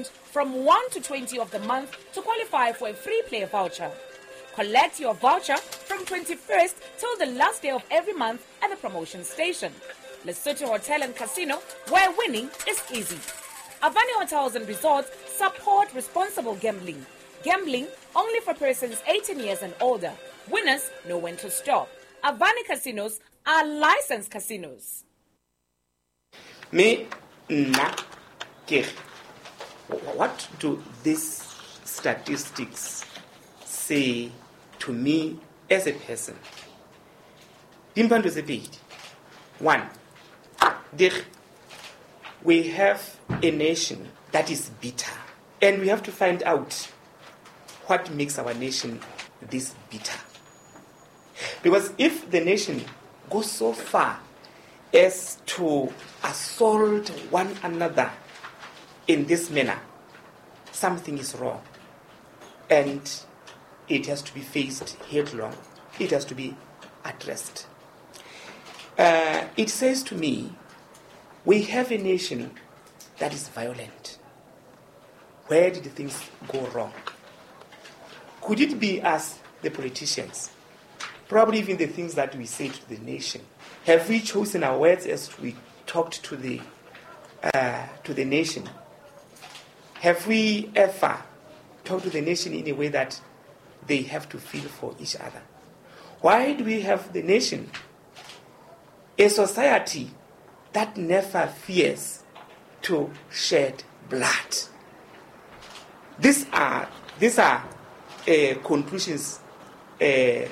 From 1 to 20 of the month to qualify for a free play voucher. Collect your voucher from 21st till the last day of every month at the promotion station. Lesotho Hotel and Casino, where winning is easy. Avani Hotels and Resorts support responsible gambling. Gambling only for persons 18 years and older. Winners know when to stop. Avani Casinos are licensed casinos. Me nna ke re, what do these statistics say to me as a person? Di mpha ntho tse pedi. One, we have a nation that is bitter, and we have to find out what makes our nation this bitter. Because if the nation goes so far as to assault one another in this manner, something is wrong. And it has to be faced headlong. It has to be addressed. It says to me, we have a nation that is violent. Where did things go wrong? Could it be us, the politicians? Probably even the things that we say to the nation. Have we chosen our words as we talked to the nation? Have we ever talked to the nation in a way that they have to feel for each other? Why do we have the nation, a society that never fears to shed blood? These are conclusions. These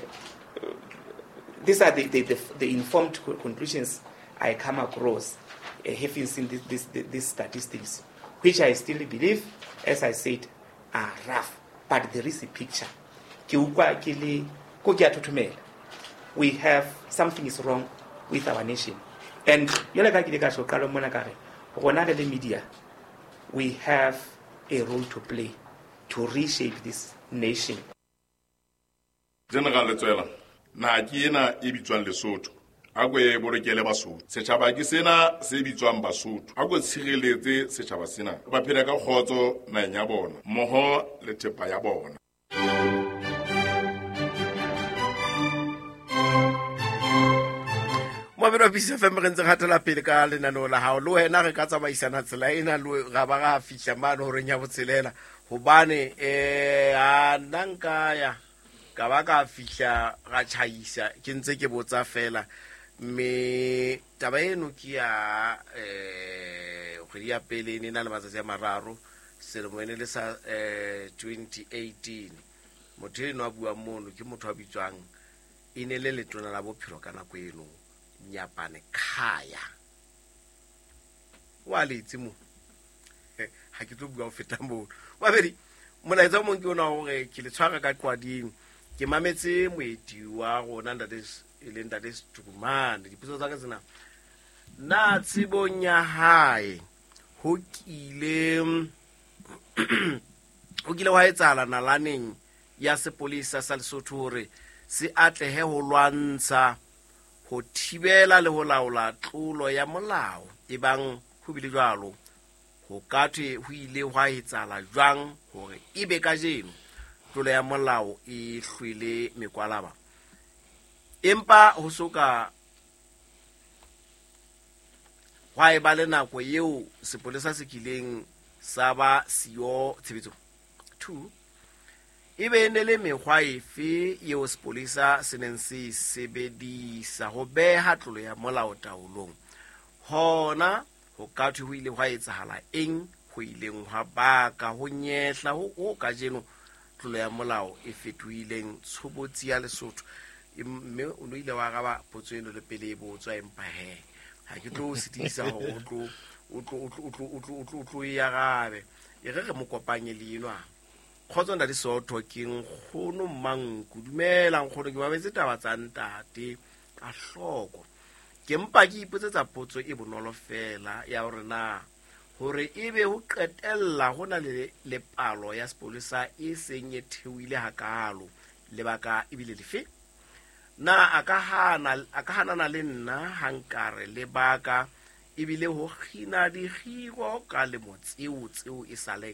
are the informed conclusions I come across, having seen these statistics, which I still believe, as I said, are rough. But there is a picture. Ke utlwa ke le, ko ke a thothomela. We have something is wrong with our nation. And jwale ka ke ile ka tjho qalong mona ka re, rona re le media, we have a role to play to reshape this nation. General Letsoela, naha ke ena e bitswang Lesotho. A ko e bolokele Basotho. Setjhaba ke sena se bitswang Basotho. A ko tshireletse setjhaba sena. Ba phele ka kgotso naheng ya bona, mmoho le thepa ya bona. Moabelo wa Peace FM re ntse re hatela pele ka lenaneo la hao. Le wena re ka tsamaisana tsela ena le ra ba ra fihla mane horeng ya botshelela. Hobane, a nna nka ya ka ba ka fihla ra tjhaisa, ke ntse ke botsa fela. Mme taba eno ke ya, kgwedi ya pele e ne e na le matsatsi a mararo, selemo e ne le sa, 2018. Motho eno a buang mono ke motho a bitswang, e ne le letona la bophelo ka nako eno, Nyapane Khaya. Wa le itse mo? Ha ke tlo bua ho feta moo. Babedi, molaetsa o mong ke ona hore ke le tshwara ka qwading. Ke mametse moeti wa rona ntate e leng ntate Setukumane. Dipotso tsa ka tsena. Na tsebong ya hae ho kile hwa etsahala nalaneng ya sepolesa sa Lesotho hore se atlehe ho lwantsha, ho thibela le ho laola tlolo ya molao? Ebang ho bile jwalo, ho ka thwe ho ile hwa etsahala jwang hore ebe kajeno tlolo ya molao e hlwele mekwalaba? Empa ho soka hwa eba le nako eo sepolesa se kileng sa ba siyo tshebetsong. 2, ebe e ne le mekgwa efe eo sepolesa se neng se e sebedisa ho beha tlolo ya molao taolong? Hona ho ka thwe ho ile hwa etsahala eng ho ileng hwa baka ho nyehla ho kajeno tlolo ya molao e fetohileng tshobotsi ya Lesotho? Mme o no ile wa araba potso eno le pele e botswa, empa he ha ke tlo o sitisa hore o tlo e arabe. E re re mo kopanye le enwa. Kgotso ntate Sootho, ke nkgono Mmanku. Dumela nkgono, ke mametse taba tsa ntate ka hloko. Ke mpa ke ipotsetsa potso e bonolo fela ya hore na hore ebe ho qetella ho na le lepalo ya sepolesa e seng e theohile hakalo, lebaka ebile lefe? Na a ka hanana le nna ha nkare lebaka Ebile ho kgina dikgiro ka lemo tseo tseo e sa leng.